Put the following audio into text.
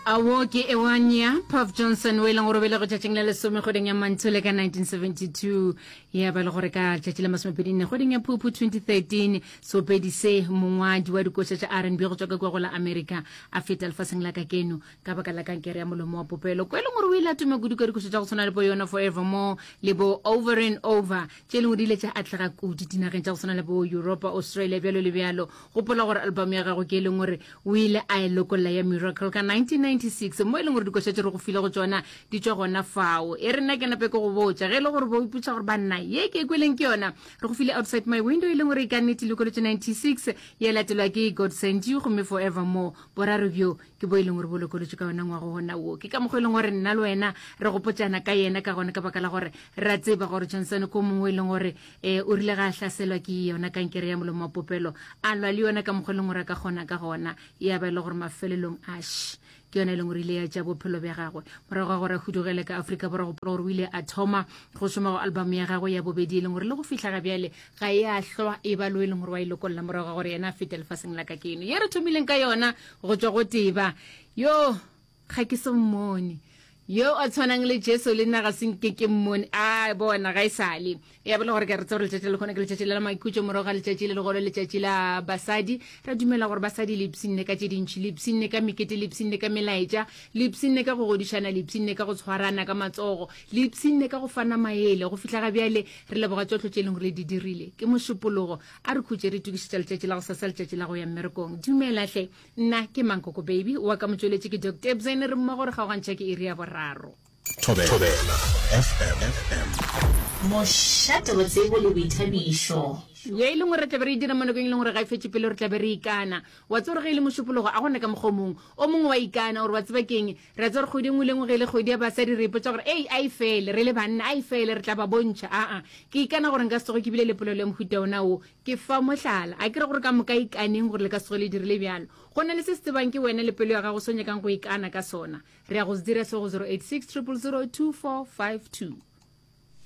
Awo ke Ewania Puff Johnson o e leng gore o belego tšatšing la lesome kgweding ya Manthole ka 1972 ya ba le gore ka tšatši la masomepedinne kgweding ya Phuphu 2013 seopedi se mongwadi wa dikoša tša R&B go tšwa ka kua go la Amerika a feta lefaseng la kakeno ka baka la kankere ya molomo wa popelo ko e leng gore o ile a tuma kudu ka dikoša tša go tshwana le bo yona Forevermore le bo Over and Over tše e leng gore di ile tša atlega kudu dinageng tša go tshwana le bo Europa Australia bjalo le bjalo Gopola gore album ya gagwe ke e leng gore o ile a e lokolla ya Miracle ka 1996, mo e leng gore dikoša tše re go file go tšona di tšwa gona fao. E re nna ke nape ke go botša, ge e le gore bo ipotša gore banna ye ke e kweleng ke yona, re go file Outside My Window e leng gore e ka nnete lokolotše 96, ya latelwa ke God Sent You gomme Forevermore. Boraro bjo ke bo e leng gore bo lokolotšwe ka yona ngwago gona wo. Ke ka mokgwa e leng gore nna le wena re gopotšana ka yena ka gona ka baka la gore re a tseba gore Johnson ko mongwe e leng gore um o rile ga a hlaselwa ke yona kankere ya molomo wa popelo a lwa le yona ka mokgwa e leng gore a ka kgona ka gona ya ba e le gore mafelelong ash ke yona e leng gore ile ya tša bophelo bja gagwe morago ga gore a hudugele ka Afrika Borwa gopola gore o ile a thoma go šoma go album ya gagwe ya bobedi e leng gore le go fihla ga bjale ga e a hlwa e ba lo e leng gore wa e lokolla morago ga gore yena a fete lefaseng la ka keno ye re thomileng ka yona go tšwa go teba yo ga ke so mmone yo a tshwanang le Jesu le nna ga se nke ke mmone a bona ga e sale ya bele gore ke re tsebe letšatši le lekgone ke letšatši la maikhutšo morago ga letšatši le legolo letšatši la basadi ra dumela gore basadi le ipshinne ka tše dintšhi le ipshinne ka mekete le ipshinne ka melaetša le ipshinne ka go godišana le ipshinne ka go tshwarana ka matsogo le ipshinne ka go fana maele go fihla ga bjale Re leboga tšohle tše e leng gore le di dirile. Ke Mošupologo. A re khutše re itokišetša letšatši la gosasa, letšatši la go ya mmerekong. Dumela hle. Nna ke Mankoko Baby, wa ka motšweletši ke Doc Tebzene, re mmogo re kgaogantšha ke iri ya boraro. Thobela FM. Mošate wa tsebo le boithabišo. Ye e leng gore re tla be re e dira mo nakong e leng gore ga e fetše pele re tla be re ikana. Wa tseba gore ge e le Mošupologo a go na ka mokgwa o mongwe. O mongwe wa ikana gore wa tseba ke'ng, Re a tseba gore kgwedi e nngwe le e nngwe ge e le kgwedi ya basadi re ipotša gore, Ei, a e fele, re le banna, a e fele, re tla ba bontšha. Aa, ke ikana gore nka se tsoge ke bile le polelo ya mohuta wona wo. Ke fa mohlala. A ke re gore ka moka ikaneng gore le ka se tsoge le dirile bjalo. Go na le se se tsebang ke wena le pelo ya gago se o nyakang go ikana ka sona. Re ya go se dira se go 086 000 2452.